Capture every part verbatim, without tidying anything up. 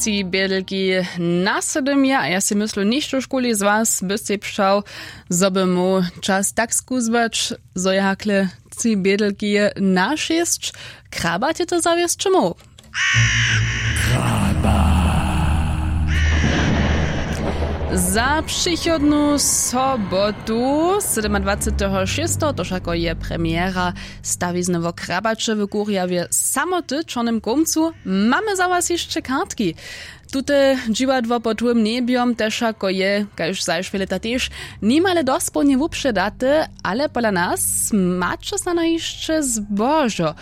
Tři bědelki na sydym je a ja sej myslu, nichtó škuli z was by sej přał, zo by móhł čas tak skuzłać, zo je hakle tři bědelki na šěsć. Krabat je to zawěsć móhł. Za přichodnu sobotu, sydomadwaceteho šěsteho, to wšako je premjera stawizny wo krabaće w kurjawje samoty w čornym kołmcu. Mamy za was hišće kartki. Tute dźiwadło pod hłym njebjom tež wšako je kaž zašwě lěta tež nimale dospołnje wupředate, ale pola nas maće snano hišće zbožo.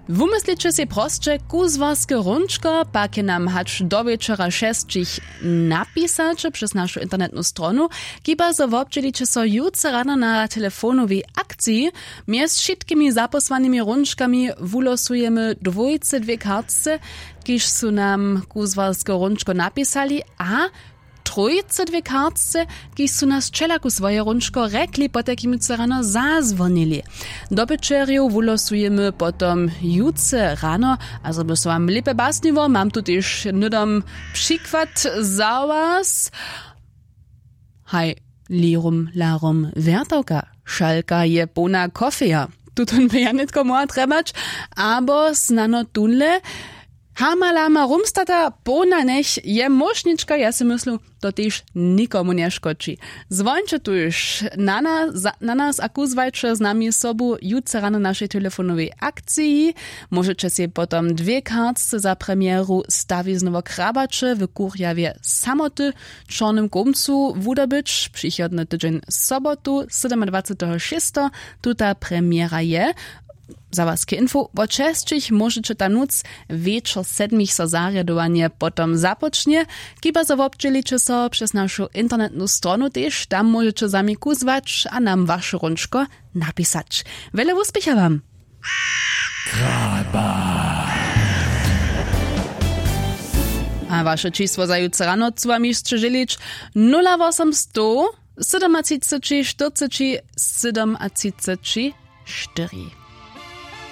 Wumysliće sej prosće kuzłarske hrónčko, pak je nam hač do wječora šesćich napisać přez našu internetnu stronu, kiba zo wobdźěliće so jutře rano na telefonowej akciji. Mjez wšitkimi zapósłanymi hrónčkami wulosujemy dwójce dwě kartce, kiž su nam kuzłarske hrónčko napisali, a trójce dwě kartce, kiž su nas wčelaku swoje hrónčko rjekli, potajkim jutře rano zazwonili. Dobyćerjow wulosujemy potom jutře rano. A zo by so wam lěpje basniło, mam tu tež hnydom přikład za was. Haj, lirum larum wjertawka, šalka je połna kofeja. Tutón by ja nětko móhła trjebać, abo snano tónle, hamalama rumstata połna njech je móšnička. Ja sej myslu, to tež nikomu nješkodźi. Zwóńće tuž na nas a kuzłajće z nami sobu jutře rano w našej telefonowej akciji. Móžeće sej potom dwě kartce za premjeru stawizny wo krabaće w kurjawje samoty w čornym kołmcu wudobyć přichodny tydźeń sobotu sydomadwaceteho šěsteho. Tuta premjera je za was k info, wot šesćich móžeće tam nóc, wječor sedmich so zarjadowanje potom započnje. Kiba zo wobdźěliće so přez našu internetnu stronu tež, tam móžeće za mi kuzłać a nam waše hrónčko napisać. Wjele wuspěcha wam. A waše čisło za jutře rano chcu wam hišće žělić: nula wosomstow sydomatřiceći štyrceći sydomatřiceći štyri.